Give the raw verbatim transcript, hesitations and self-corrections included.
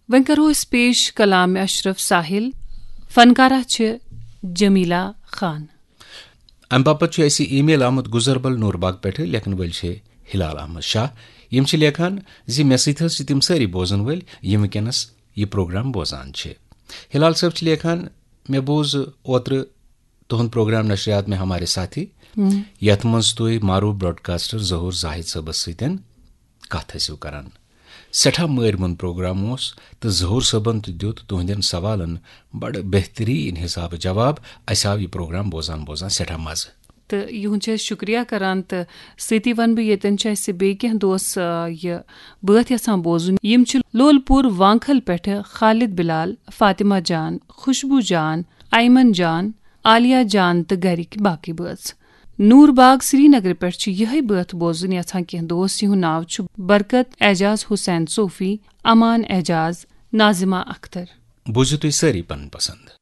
وۄنۍ کرو أسۍ پیش کلام اشرف ساحل۔ فنکارہ چھِ جمیلہ خان۔ امہِ باپتھ چھُ اَسہِ ای میل آمُت گُزربل نورباگ پٮ۪ٹھٕ، لیکھن وٲلۍ چھِ ہلال احمد شاہ۔ یِم چھِ لیکھان زِ مےٚ سۭتۍ حظ چھِ تِم سٲری بوزن وٲلۍ، یِم وٕنکیٚنس یہِ پروگرام بوزان چھِ۔ ہلال صٲب چھِ لیکھان، مےٚ بوز اوترٕ تُہُنٛد پروگرام نشریات میں ہمارے ساتھی، یتھ منٛز تُہۍ معروف براڈکاسٹر ظہور زاہد صٲبس سۭتۍ کتھ ٲسِو کران۔ سٮ۪ٹھاہ مٲرۍ مۄند پروگرام اوس، تہٕ ظہور صٲبن تہِ دیُت تُہنٛدٮ۪ن سوالن بڑٕ بہتریٖن حسابہٕ جواب۔ اسہِ آو یہِ پروگرام بوزان بوزان سٮ۪ٹھاہ مزٕ۔ تہٕ یِہُنٛد چھِ أسۍ شُکریہ کران، تہٕ سۭتی وَنہٕ بہٕ، ییٚتٮ۪ن چھِ اَسہِ بیٚیہِ کینٛہہ دوس، آ، یہِ بٲتھ یَژھان بوزُن۔ یِم چھِ لول پوٗر وانکھل پٮ۪ٹھٕ خالد بلال، فاطمہ جان، خوشبو جان، ایمن جان، عالیہ جان تہٕ گرِکۍ باقٕے بٲژ۔ نور باغ سرینگرٕ پٮ۪ٹھ چھِ یِہوٚے بٲتھ بوزُن یَژھان کینٛہہ دوس، یِہُنٛد ناو چھُ برکت اعجاز حسین صوفی، امان اعجاز، ناظمہ اختر۔ بوٗزِو تُہۍ سٲری پنٕنۍ پسند۔